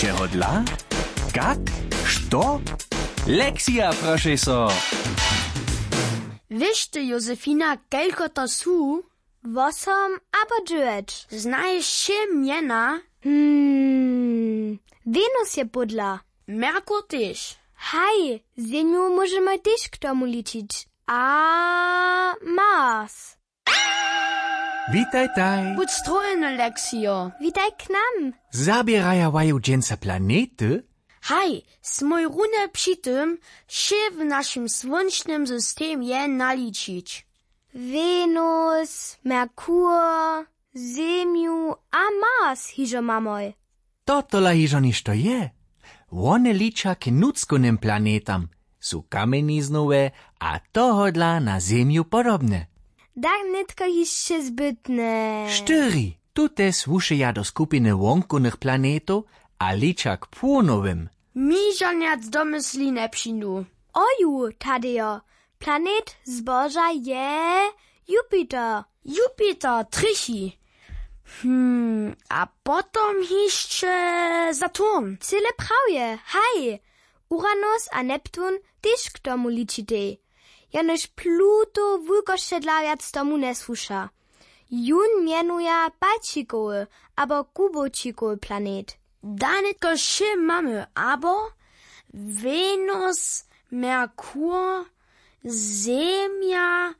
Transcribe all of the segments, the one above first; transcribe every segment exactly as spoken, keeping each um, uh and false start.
Čehodla? Kak? Što? Lexija, prošej so. Wěš ty, Josefina, kelko to su? Wosom abo dźewjeć. Znaješ wšě mjena? Hmm. Wenus je pódla. Merkur tež. Haj, Zemju móžemy tež k tomu ličić. A Mars. Witajtaj. Budź strojeny, Lexijo. Witaj k nam. Zaběraja waju dźensa planety? Haj, smój runje při tym, wšě w našim słónčnym systemje naličić. Wenus, Merkur, Zemju a Mars hižo mamoj. To tola hižo něšto je. Wone liča k nutřkownym planetam, su kamjeniznowe a tohodla na Zemju podobne. Dach nětko hišće zbytne. Štyri, tute słušeja do skupiny wonkownych planetow a liča k płonowym. Mi žanjac do mysli njepřińdu. Oju, Tadejo, planet zboža je Jupiter. Jupiter, trjechi. Hm, a potom hišće Saturn. Cyle prawje, haj. Uranus a Neptun tež k tomu ličitej. Jenož Pluto wulkosće dla wjac tomu njesłuša. Jón mjenuja palčikowy abo kubowčikowy planet. Da nětko wšě mamy, abo Wenus, Merkur, Zemja,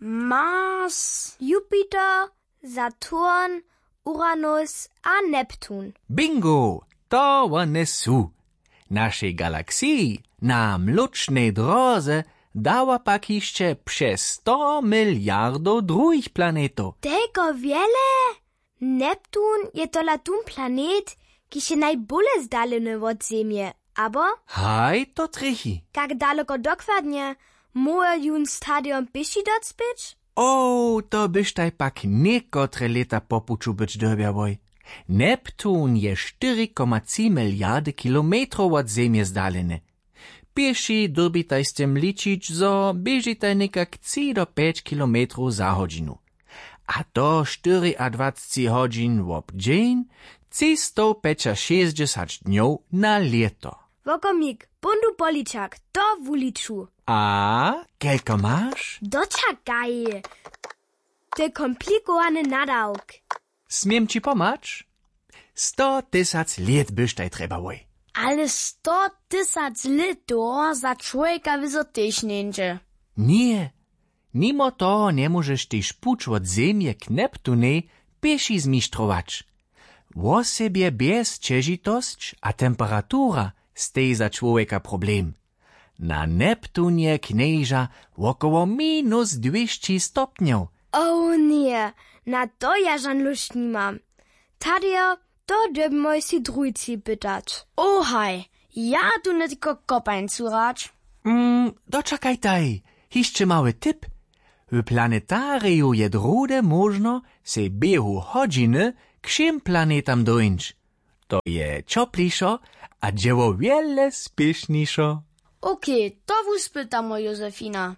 Mars, Jupiter, Saturn, Uranus a Neptun. Bingo! To wone su. Našej galaksiji na mlóčnej dróze dawa pak hišće přez sto miliardow druhich planetow. Telko wjele? Neptun je tola tón planet, kiž je najbóle zdaleny wot Zemje, abo? Haj, to trjechi. Kak daloko dokładnje? Móhło jón stadion pěši docpěć? O, to byštaj pak někotre lěta po puću być dyrbjałoj. Neptun je štyri koma tři miliardy kilometrow wot Zemje zdaleny. Pěši dyrbitaj z tym ličić, zo běžitaj někak tři do pjeć kilometrow za hodźinu. A to štyriadwacci hodźin wob dźeń, třistowpjećašěsćdźesać dnjow na lěto. Wokomik, póńdu poličak, to wuliču. A kelko maš? Dočakaj. To je komplikowany nadawk. Směm ći pomhać? Sto tysac lět byštaj trjebałoj. Ale sto tysac lětow za čłowjeka wězo tež njeńdźe. Ně. Nimo toho njemóžeš tež puć wot Zemje k Neptunej pěši zmištrować. Wosebje bjez ćežitosć a temperatura steji za čłowjeka problem. Na Neptunje knježa wokoło minus dwěsći stopnjow. O ně, na to ja žan lóšt nimam. Tadejo, to dyrbimoj sej druhej tři pytać. O haj, ja tu nětko kopańcu hrać. Mm, dočakajtaj, hišće mały tip. W planetariju je druhdy móžno sej běhu hodźiny k wšěm planetam dóńć. To je ćoplišo a dźěło wjele spěšnišo. Okej, to wuspytamoj, Josefina.